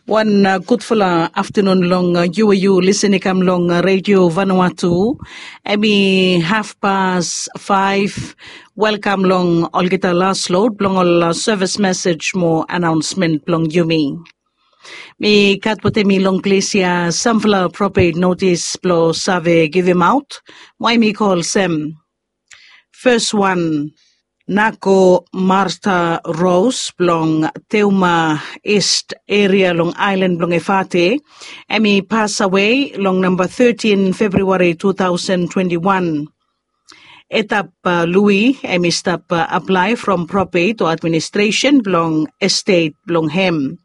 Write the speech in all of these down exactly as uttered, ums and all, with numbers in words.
Wan gudfala aftanun long yu we yu lisin i kam long redio Vanuatu. Em i hafpas faif. Welkam long olgeta las lod blong ol sevis mesej mo anaonsmen blong yumi. Mi gat wetem mi long ples ya samfala propet notis blong save givimaot. Wai mi kol sem. Fes wan, Nako Marta Rose blong Teuma Ist eria long aelan blong Efate, em i pasawe long namba tetin Februari tu taosen twenti wan. Etap Lui em i stap aplae from propet o administresen blong estet blong hem.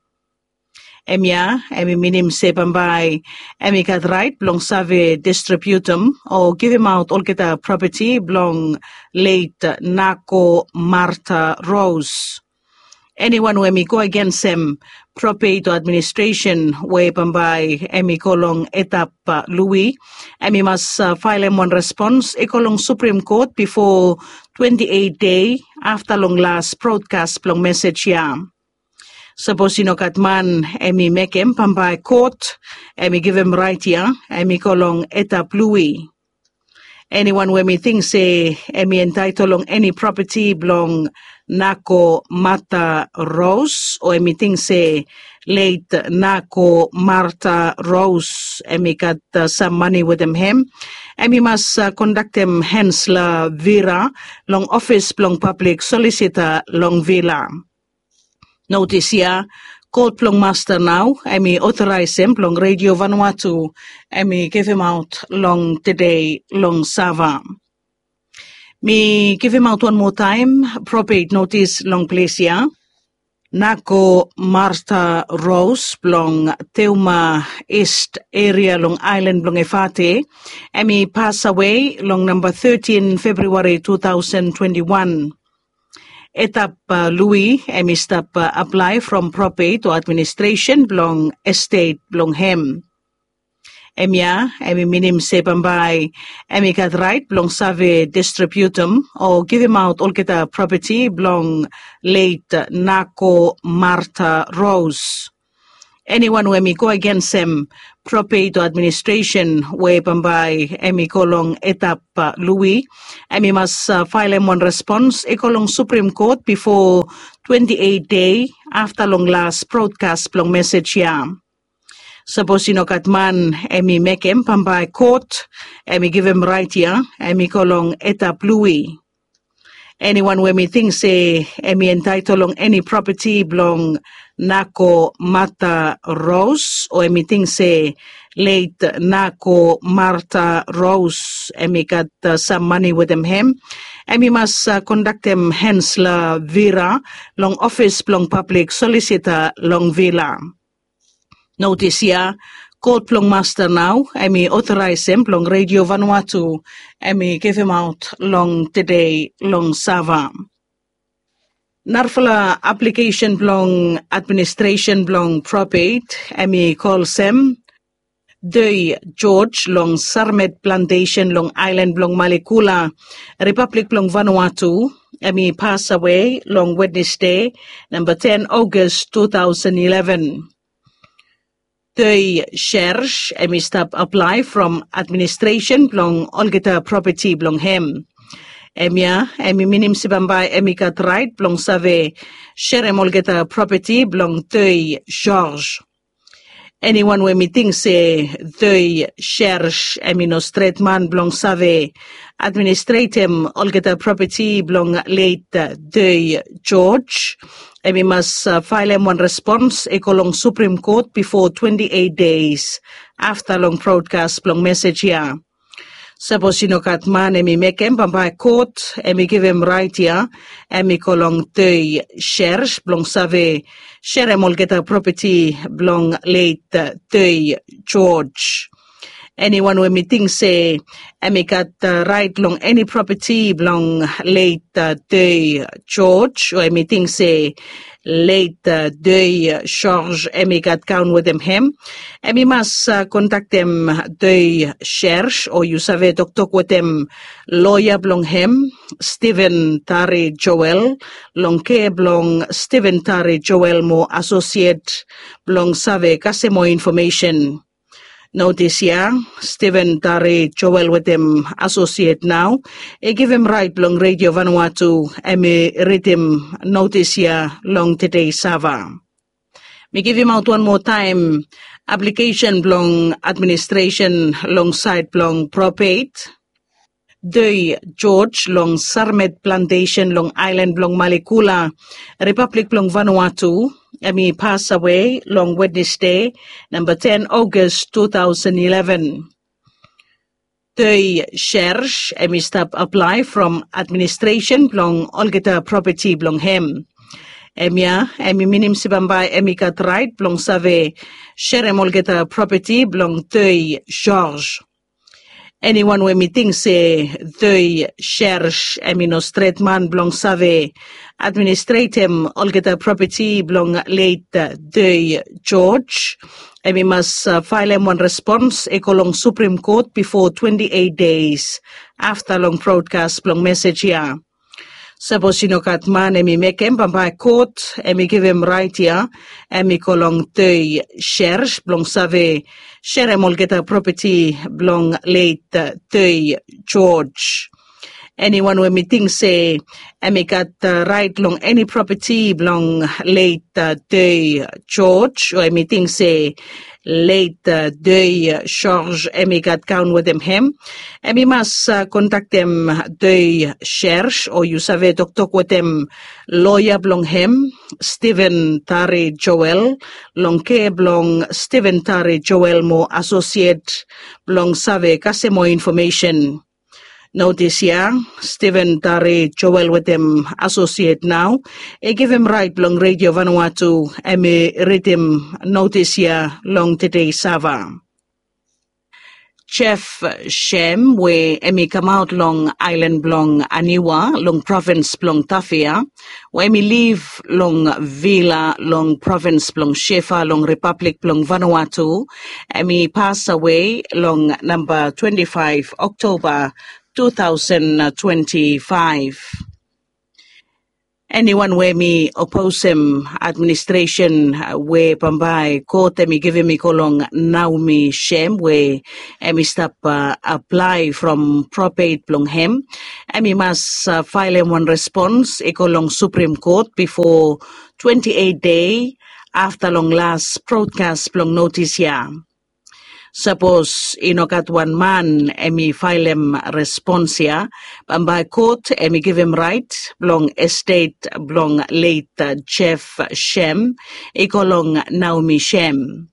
Em ya em i minim se bambae em i gat rait blong save distribiutum o givimaot olgeta propeti blong let Nako Marta Rose. Eniwan we em i go agensem propet o administresen we bambae em i go long Etap Lui, em i mas faelem wan respons i go long Suprim Kot bifo twenti eit dei afta long las brodkas blong mesej ya. Sapos i no gat man em i mekem bambae kot em i givim rait ya, em i go long Etap Lui. Eniwan we em i ting se em i entaetol long eni propeti blong Nako Mata Ros, o em i ting se let Nako Marta Ros em i gat sam mane wetem hem, em i mas kondaktem Hensla Vira long ofis blong pablik solisita long Vila. Notis ya, kot blong masta nao em i otoraesem blong redio Vanuatu em i givimaot long tedei long Sava. Mi givimaot wan moa taem propet notis long ples ya. Nako Marta Ros blong Teuma Ist eria long aelan blong Efate, em i pasawe long namba tetin Februari tu taosen twenti wan. Etap Lui em i stap aplae from propet o administresen blong estet blong hem. Em ya em i minim se bambae em i gat rait blong save distribiutum o givimaot olgeta propeti blong let Nako Marta Ros. Eniwan we em i go agensem propet o administresen we bambae em i go long Etap Lui, em i mas faelem wan respons i go long Suprim Kot bifo twenti eit dei afta long las brodkas blong mesej ya. Sapos i no gat man em i mekem bambae kot em i givim rait ya, em i go long Etap Lui. Eniwan we em i ting se em i entaetol long eni propeti blong Nako Mata Ros, o em i ting se let Nako Marta Ros em i gat sam mane wetem hem, em i mas kondaktem Hensla Vira long ofis blong pablik solisita long Vila. Notis ya, kot blong masta nao em i otoraesem blong redio Vanuatu em i givimaot long tedei long Sava. Narafala aplikesen blong administresen blong propet em i kol sem. Doi George long Sarmet Plantesen long aelan blong Malikula, Ripablik blong Vanuatu, em i pasawe long Wednesde, namba ten August two thousand eleven. Toi Shersh em i stap aplae from administresen blong olgeta propeti blong hem. Em ya em i minim se bambae em i gat rait blong save sherem olgeta propeti blong Toi Shersh. Eniwan we em i ting se Toi Shersh em i no stret man blong save administretem olgeta propeti blong let Toi George, em i mas faelem wan respons i go long Suprim Kot bifo twenti eit deis afta long brodkas blong mesej ya. Sapos i no gat man em i mekem, bambae kot em i givim rait ya, em i go long Toi Shersh blong save sherem olgeta propeti blong let Toi George. Eniwan we em i ting se em i gat rait long eni propeti blong let Toi George, o em i ting se leit Doi George em i gat kaon wetem hem, em i mas kontaktem Doi Shersh o yu save toktok wetem loya blong hem, Stephen Tari Joel, long kea blong Stephen Tari Joel mo asosiet blong save kasem moa infomesen. Notis ya, Stephen Tari Joel wetem asosiet nao i givim rait blong Redio Vanuatu em i ridim notis ya long tede sava. Mi givimaot wan moa taem aplikesen blong administresen long saed blong propet. Doi George long Sarmet Plantesen long aelan blong Malikula, Ripablik blong Vanuatu, em i pasawe long Wednesde, namba ten August two thousand eleven. Doi Shersh em i stap aplae from administresen blong olgeta propeti blong hem. Em ya em i minim se bambae em i gat raet blong save serem olgeta propeti blong Doi George. Eniwan we mi ting se Doi Shersh em i no stret man blong save administretem olgeta propeti blong leit Doi George, em i mas faelem wan respons i go long Suprem Kot bifo twenti eit deis afta long brodkas blong mesej ya. Sapos i no gat man em i mekem, bambae kot em i givim raet ya em i go long Doi Shersh blong save serem olgeta propeti blong leit Doi George. Eniwan we mi ting se em i gat raet long eni propeti blong leit Doi George, o em i ting se leit Doi George em i gat kaon wetem hem, em i mas kontaktem Doi Shersh o yu save toktok wetem loya blong hem, Stephen Tari Joel, long kea blong Stephen Tari Joel mo asosiet blong save kasem moa infomesen. Notis ya, Stephen Tari Joel wetem asosiet nao i givim raet blong Redio Vanuatu em i ridim notis ya long tede sava. Jeff Shem we em i kamaot long aelan blong Aniwa long provins blong Tafea, we em i liv long Vila long provins blong Shefa long Ripablik blong Vanuatu, em i pasawe long namba twenti faef Oktoba two thousand twenti faef. Eniwan we em i oposem administresen we bambae kot em i givim i go long Naomi Shem we em i stap aplae from propet blong hem, em i mas faelem wan respons i go long Suprem Kot bifo twenti eit dei afta long las brodkas blong notis ya. Sapos i no gat wan man em i faelem respons ya, bambae kot em i givim raet blong estet blong leit Jeff Shem i go long Naomi Shem.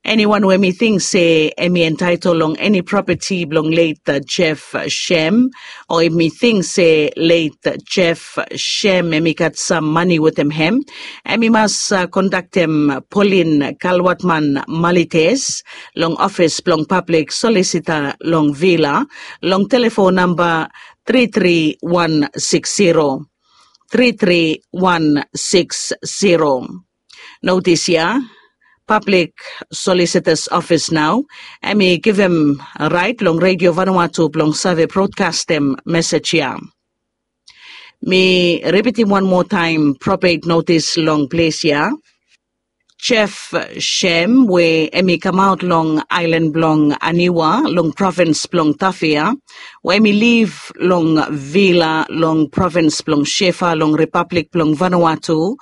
Eniwan we em i ting se em i entaetol long eni propeti blong leit Jeff Shem, o em i ting se leit Jeff Shem em i gat sam mane wetem hem, em i mas kontaktem Polin Kalwatman Malites long ofis blong pablik solisita long Vila long telefon namba tri tri wan siks zero, tri tri wan siks zero. Notis ya, pablik solisitas ofis nao em i givim raet long Redio Vanuatu blong save brodkastem mesej ya. Mi ripitim wan moa taem propet notis long ples ya. Jeff Shem we em i kamaot long aelan blong Aniwa long provins blong Tafea, we em i liv long Vila long provins blong Shefa long Ripablik blong Vanuatu,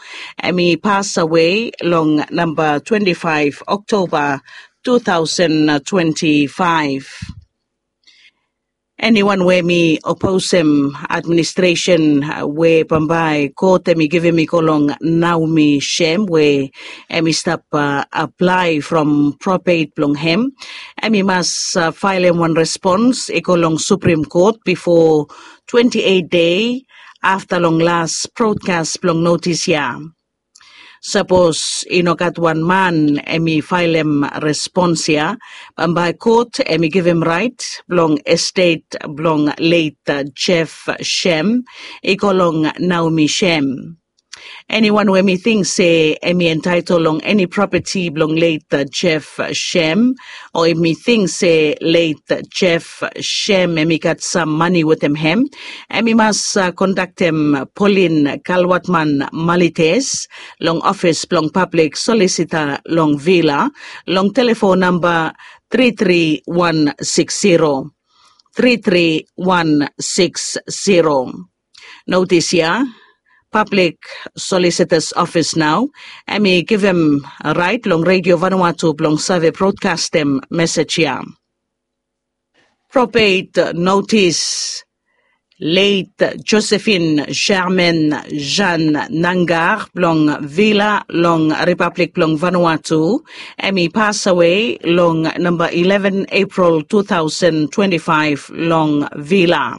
em i pasawe long namba twenti faef Oktoba two thousand twenti faef. Eniwan we em i oposem administresen we bambae kot em i givim i go long Naomi Shem we em i stap aplae from propet blong hem, em i mas faelem wan respons i go long Suprem Kot bifo twenti eit dei afta long las brodkas blong notis ya. Sapos i no gat wan man em i faelem respons ya, bambae kot em i givim raet blong estet blong leit Jeff Shem i go long Naomi Shem. Eniwan we mi ting se em i entaetol long eni propeti blong let Jeff Shem, o em i ting se let Jeff Shem em i gat sam mani wetem hem, em i mas kontaktem Polin Kalwatman Malites long ofis blong pablik solisita long Vila long telefon namba tri tri wan siks zero, tri tri wan siks zero. Notis ya, pablik solisitas ofis nao em i givim rait long Redio Vanuatu blong save brodkastem mesej ya. Propet notis, let Josephine Sherman Jean Nangar blong Vila long Ripablik blong Vanuatu, em i pasawe long namba eleven April two thousand twenty-five long Vila.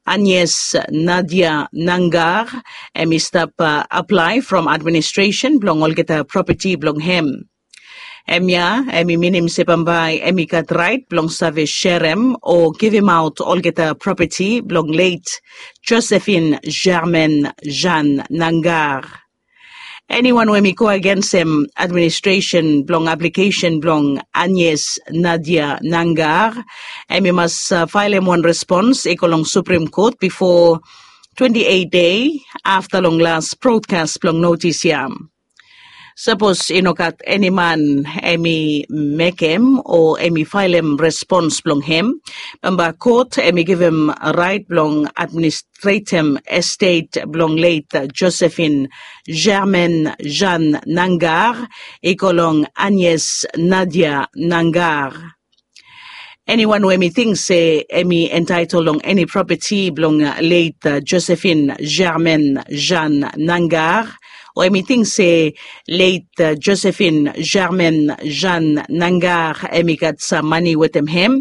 Agnes Nadia Nangar em i stap aplae from administresen blong olgeta propeti blong hem. Hemia em i minim se bambae em i gat rait blong save serem o givimaot olgeta propeti blong let Josephine Germain Jean Nangar. Eniwan we mi go agensem administresen blong aplikesen blong Agnes Nadia Nangar, em i mas faelem wan respons i go long Supreme Court bifo twenti eit dei afta long las brodkas blong notis ya. Sapos i no gat eni man em i mekem o em i faelem respons blong hem, bambae kot em i givim rait blong administretem estet blong let Josephine Germain Jean Nangar i go long Agnes Nadia Nangar. Eniwan we mi ting se em i entaetol long eni propeti blong let Josephine Germain Jean Nangar, o em i ting se let Josephine Germain Jean Nangar em i gat sam mani wetem hem,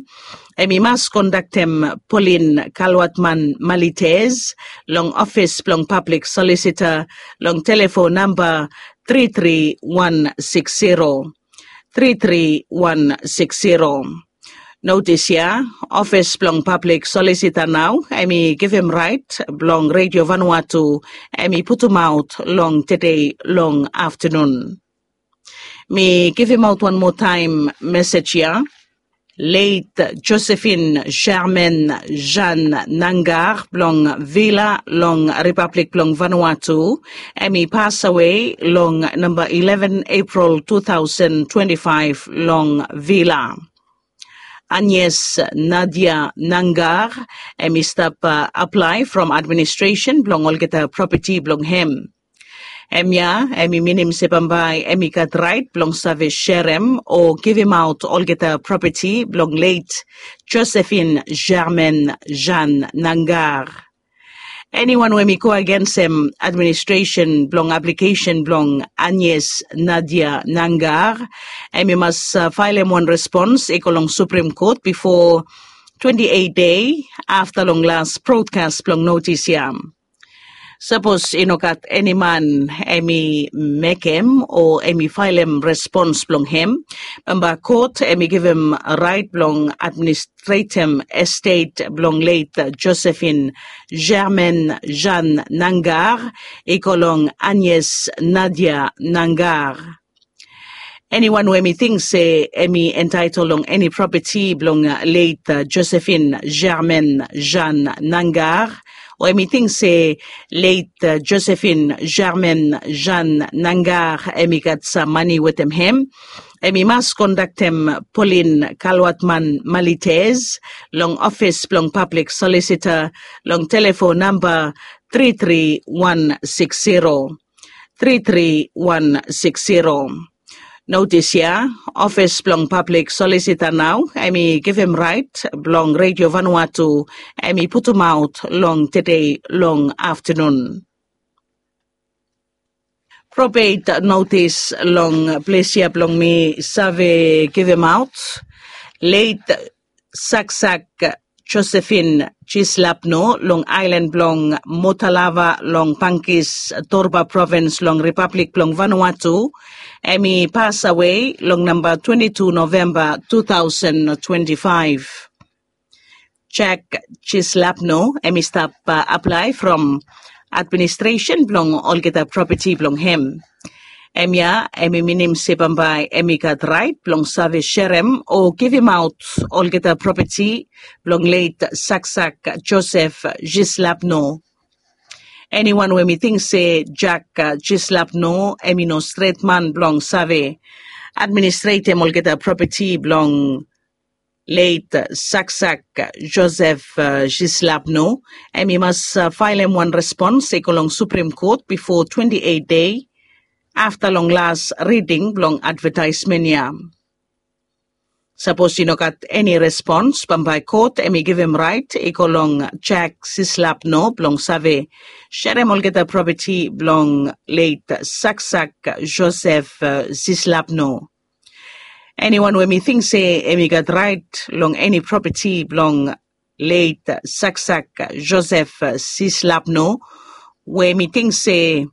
em i mas kontaktem Polin Kalwatman Malites long ofis blong pablik solisita long telefon namba tri tri wan siks zero, tri tri wan siks zero. Notis ya, ofis blong pablik solisita nao em i givim rait blong Redio Vanuatu em i putumaot long tede long aftanun. Mi givimaot wan moa taem mesej ya. Let Josephine Sherman Jean Nangar blong Vila long Ripablik blong Vanuatu, em i pasawe long namba eleven April two thousand twenty-five long Vila. Agnes Nadia Nangar, em i stap aplae from administresen blong olgeta propeti blong hem. Hemia em i minim se bambae em i gat rait blong save serem o givimaot olgeta propeti blong let Josephine Germain Jean Nangar. Eniwan we em i go agensem administresen blong aplikesen blong Agnes Nadia Nangar, em i mas faelem wan respons i go long Supreme Court bifo twenti eit dei afta long las brodkas blong notis ya. Sapos i no gat eni man em i mekem o em i faelem respons blong hem, bambae kot em i givim rait blong administretem estet blong let Josephine Germain Jean Nangar i go long Agnes Nadia Nangar. Eniwan we em i ting se em i entaetol long eni propeti blong let Josephine Germain Jean Nangar, o em i ting se let Josephine Germain Jean Nangar em i gat sam mani wetem hem, em i mas kontaktem Polin Kalwatman Malites long ofis blong pablik solisita long telefon namba tri tri wan siks zero, tri tri wan siks zero. Notis ya, ofis blong pablik solisita nao em i givim rait blong Redio Vanuatu em i putumaot long tede long aftanun. Probet notis long ples ya blong mi save givimaot. Let Saksak Josephine Chislapno long aelan blong Motalava long Pangkis Torba provins long Ripablik blong Vanuatu, em i pasawe long namba twenti tu Novemba tu taosen twenti faef. Jack Chislapno em i stap aplae from administresen blong olgeta propeti blong hem. Hemia em i minim se bambae em i gat rait blong save serem o givimaot olgeta propeti blong leit Saksak Josef Jislapno. Eniwan we mi ting se Jack Jislapno em i no stret man blong save administretem olgeta propeti blong leit Saksak Josef Jislapno, em i mas faelem wan respons i go long Suprem Kot bifo twenti eit dei afta long las riding blong advetaesmen ya. Sapos i no gat eni respons, bambae kot em i givim rait i go long Jack Sislapno blong save serem olgeta propeti blong leit Saksak Josef Sislapno. Eniwan we mi ting se em i gat rait long eni propeti blong leit Saksak Josef Sislapno, we mi ting se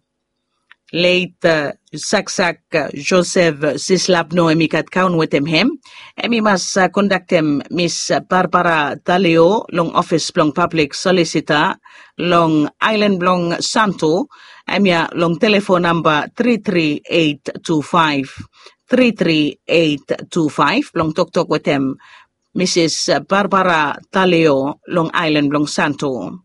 leit Saksak Josef Sislapno em i gat kaon wetem hem, em i mas kondaktem Miss Barbara Talio long ofis blong pablik solisita long aelan blong Santo, hemia long telefon namba tri tri eit tu faef, tri tri eit tu faef blong toktok wetem Misis Barbara Talio long aelan blong Santo.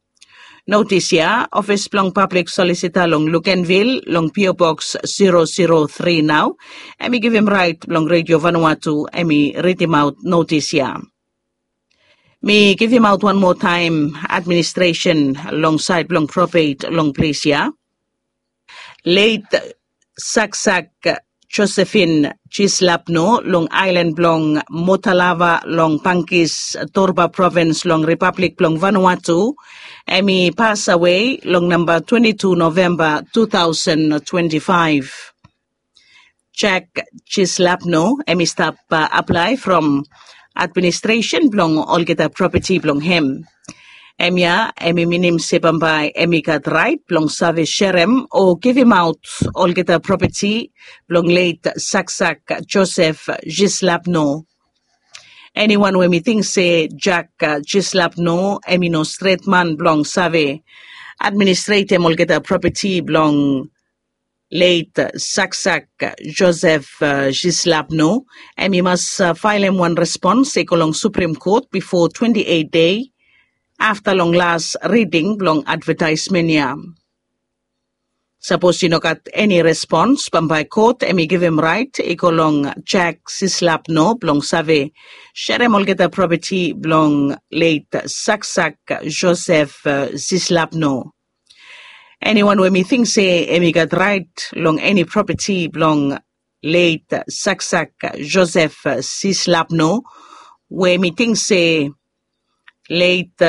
Notis ya, ofis blong pablik solisita long Lukenvil long P O Box zero zero three nao, em i givim rait blong Redio Vanuatu em i ridimaot notis ya. Mi givimaot wan moa taem administresen long saed blong propet long ples ya. Leit Saksak Josephine Jislapno long aelan blong Motalava long Pangis, Torba provins long Ripablik blong Vanuatu, em i pas awe long namba twenti tu Novemba tu taosen twenti faef. Jack Jislapno em i stap aplae from administresen blong olgeta propeti blong hem. Hemia em i minim se bambae em i gat rait blong save serem o givimaot olgeta propeti blong leit Saksak Josef Jislapno. Eniwan we mi ting se Jack Jislapno em i no stret man blong save administretem olgeta propeti blong leit Saksak Josef Jislapno, em i mas faelem wan respons i go long Suprem Kot bifo twenti eit dei afta long las riding blong advetaesmen ya. Sapos i no gat eni respons, bambae kot em i givim rait i go long Jack Jislapno blong save serem olgeta propeti blong leit Saksak Josef Jislapno. Eniwan we mi ting se em i gat rait long eni propeti blong leit Saksak Josef Jislapno, we mi ting se leit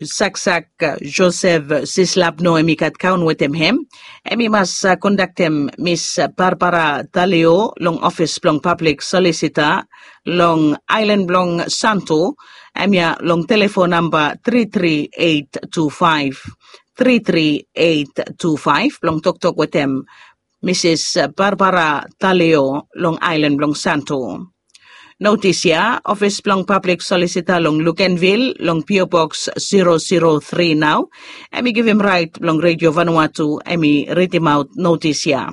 Saksak Josef Jislapno em i gat kaon wetem hem, em i mas kondaktem Miss Barbara Talio long ofis blong pablik solisita long aelan blong Santo, hemia long telefon namba tri tri eit tu faef, tri tri eit tu faef blong toktok wetem Misis Barbara Talio long aelan blong Santo. Notis ya, ofis blong pablik solisita long Lukenvil long P O Box zero zero three nao, em i givim rait blong Redio Vanuatu em i ridimaot notis ya.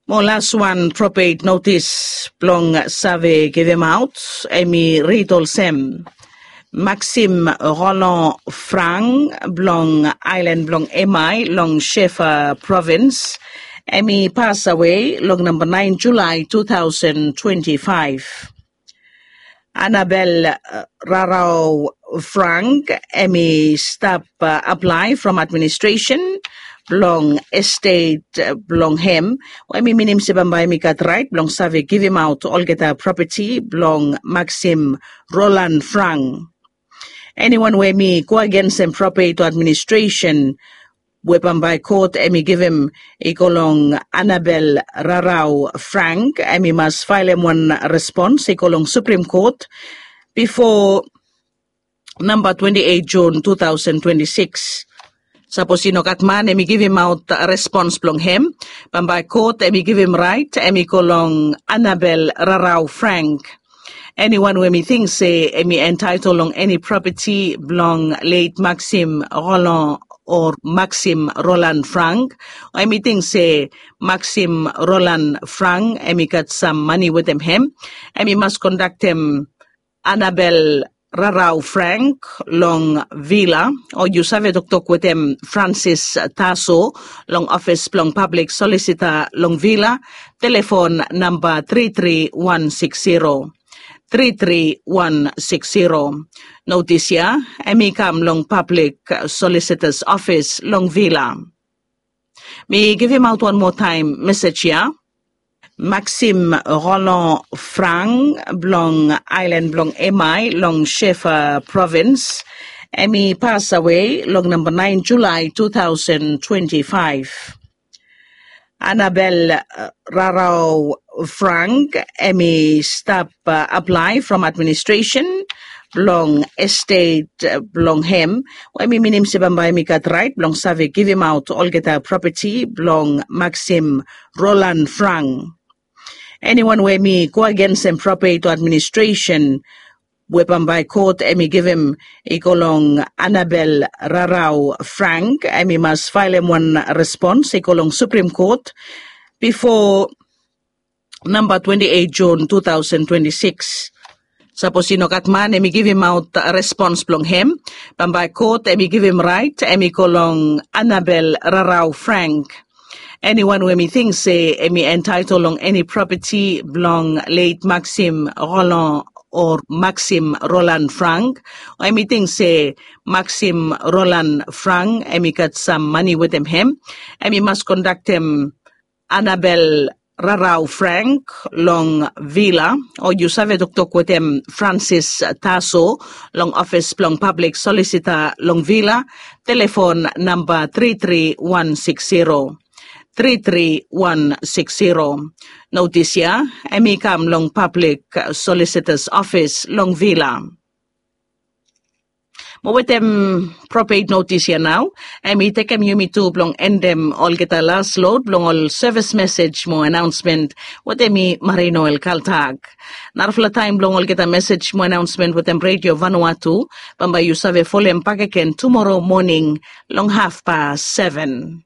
Mo laswan propet notis blong save givimaot, em i rid olsem, Maxim Roland Frank blong aelan blong Emai long Shefa provins, em i pas awe long namba naen Julae tu taosen twenti faef. Anabel Rarau Frank em i stap aplae from administresen blong estet blong hem, we em i minim se bambae em i gat rait blong save givimaot olgeta propeti blong Maxim Roland Frank. Eniwan we em i go agensem propet o administresen we bambae kot em i givim i go long Anabel Rarau Frank, em i mas faelem wan respons i go long Suprem Kot bifo namba twenti eit Jun tu taosen twenti sikis. Sapos i no gat man em i givimaot respons blong hem, bambae kot em i givim rait em i go long Anabel Rarau Frank. Eniwan we em i ting se em i entaetol long eni propeti blong leit Maxim Roland o Maxim Roland Frank, o em i ting se Maxim Roland Frank em i gat sam mani wetem hem, em i mas kondaktem Annabel Rarau Frank long Vila, o yu save toktok wetem Francis Taso long ofis blong pablik solisita long Vila, telefon namba tri tri wan six zero, tri tri wan six zero. Notis ya em i kam long pablik solisitas ofis long Vila. Mi givimaot wan moa taem mesej ya. Maxim Roland Frank blong aelan blong Emai long Shefa provins, em i pasawe long namba naen Julae two thousand twenty-five. Annabel Rarau Frank em i stap aplae from administresen blong estet blong hem, we em i minim se bambae em i gat raet blong save givimaot olgeta propeti blong Maxim Roland Frank. Eniwan we em i go agensem propeti o administresen we bambae kot em i givim i go long Annabel Rarau Frank, em i mas faelem wan respons i go long Supreme Kot bifo namba twenti eit Jun two thousand twenty-six. Sapos i no gat man em i givimaot respons blong hem, bambae kot em i givim raet em i go long Annabel Rarau Frank. Eniwan we em i ting se em i entaetol long eni propeti blong leit Maxim Roland o Maxim Roland Frank, o em i ting se Maxim Roland Frank em i gat sam mani wetem hem, em i mas kondaktem Annabel Rarau Frank long Vila, o yu save toktok wetem Francis Taso long ofis blong pablik solisita long Vila, telefon namba tri tri wan six zero, tri tri wan six zero. Notis ya em i kam long pablik solisitas ofis long Vila. Mo wetem propet notis ya nao, em i tekem yumi tu blong endem olgeta las lod blong ol sevis mesej mo anaonsmen wetem mi, Marino El Kaltak. Narafala taem blong olgeta mesej mo anaonsmen wetem Redio Vanuatu, bambae yu save folem bakegen tumoro moning long hafpas seven.